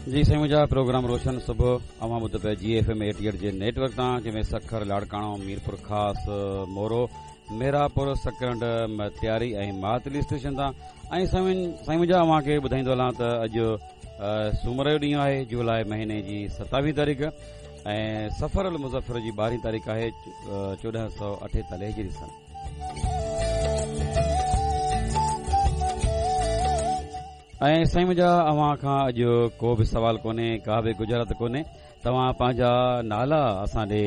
جي سائين منهنجا پروگرام روشن صبح اوهان ٻڌو پيا جي ايف ايم 88 جي نيٽ ورڪ تان جنهن ۾ سکر لاڙڪاڻو ميرپور خاص مورو ميراپور سڪرنڊ متياري ۽ ماتلي اسٽيشن تان ۽ سائين سائين منهنجا اوهان کي ٻڌائيندو هلان ته اڄ سومر جو ڏينهن آهي جولاء مهيني جي 27 تاريخ ۽ صفر المظفر جي 12 تاريخ آهي 1448 هجري سن. ۽ سائين منهنجا اوهان کان اڄ ڪو به سوال ڪونهي ڪا به ڳجهارت ڪونهي توهان پنهنجا نالا اسان ڏي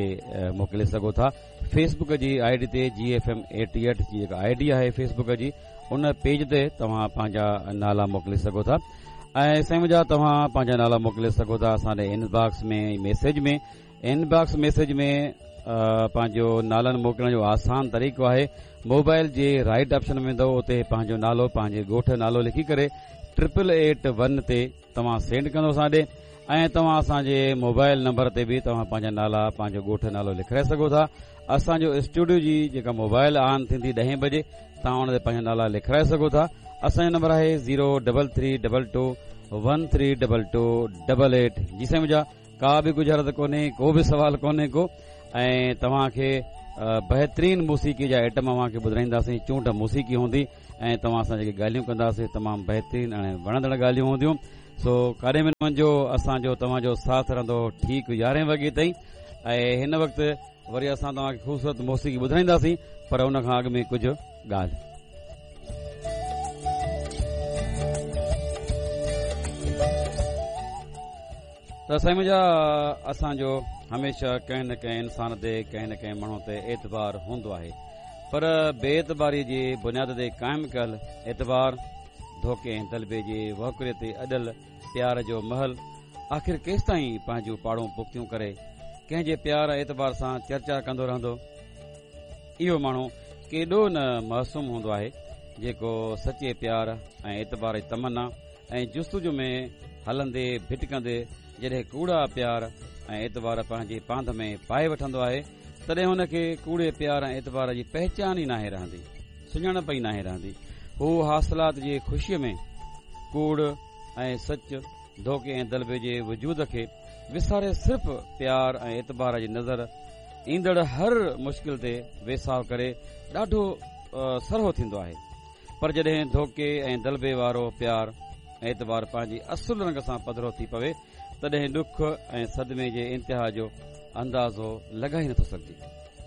موڪلي سگهو ٿا فيس بڪ جي I D تي جي ايف ايم 88 جي جيڪا I D آهي فيس بڪ جي ان پيج تي توهان پنهنجا نالا موڪلي سگهو ٿا ۽ سائين منهنجا توهان پنهنجا نالا موڪلي سگهو ٿا اسان ڏي ان باڪس ۾ ميسيج ۾ ان باڪس ميسيج ۾ پنهنجو نالن موڪلڻ جو آسان طريقو آهي موبائل جي رائٽ آپشن ۾ ويندو اتي پنهنجو نالو پنهنجي ڳوٺ نالو لکي ڪري ٽرپل ايٽ ون تي توهان سينڊ ڪندو اسان ڏي ۽ توهان اسان جي موبائل نمبر تي به توهان پنهنجا نالا پنهنجو ڳوٺ نالو لکرائي سگهو ٿا اسان جو اسٽوڊيو جي جيڪا موبائل آن ٿيندي ڏهين بجي توهان ان تي پنهنجا نالا لکرائي سگهو ٿا اسان جو نمبر آهي zero double three double two one three double two double eight جي سائين منهنجا ڪا به ڳجهارت ڪونهي ڪو به سوال ڪونهي ڪو ۽ توهان کي بهترين موسيقي جا آئٽم اوهان کي ٻڌائينداسين چونڊ موسيقي هوندي ۽ توهان سان جيڪي ڳالهيون ڪنداسين تمام بهترين ۽ وڻندڙ ڳالهيون هونديون سو ڪاڏي به نه وڃجو اسان جو توهان جو ساٿ رهندو ٺيڪ يارهين وڳي تائين ۽ هن وقت وري اسان توهان کي خوبصورت موسيقي ٻڌائينداسين پر ان کان اڳ ۾ ڪجهه ڳالهه. ته سائين منهنجا اسان جو هميشه ڪنهن نه ڪنهن انسان تي ڪنهن نه ڪنهن ماڻهو تي اعتبار هوندو آهي پر بي اعتباري جي بنياد تي قائم ڪيل اعتبار ڌوڪي ۽ دلبي جي وهڪري تي اڏل پيار جو محل آخر ڪيستائين پنهنجون پاڙون پختيون ڪري ڪنهن جي پيار ۽ اعتبار سان چرچا ڪندو رهندو؟ اهو ماڻهو ڪيڏو نه معصوم هوندو آهي جيڪو سچي پيار ۽ اعتبار جي تمنا ۽ جستجو ۾ هلندي ڀٽڪندي جڏهن ڪوڙا پيار ۽ اعتبار پنهنجي پانڌ ۾ پائي وٺندو آهي تڏهن هن کي ڪوڙي پيار ۽ اعتبار جي پهچان ئي ناهي رهندي، سڃاڻپ ئي ناهي رهندي. هو حاصلات جي خوشيء ۾ ڪوڙ ۽ سچ، ڌوڪي ۽ دلبي جي وجود کي وساري صرف پيار ۽ اعتبار جي نظر ايندڙ هر مشڪل تي ويساهه ڪري ڏاڍو سرهو ٿيندو آهي. پر جڏهن ڌوڪي ۽ دلبي وارو پيار ۽ اعتبار پنهنجي اصل رنگ سان پڌرو ٿي پوي، تڏهن ڏک ۽ صدمي جي انتها جو اندازو لڳائي نٿو سگهجي.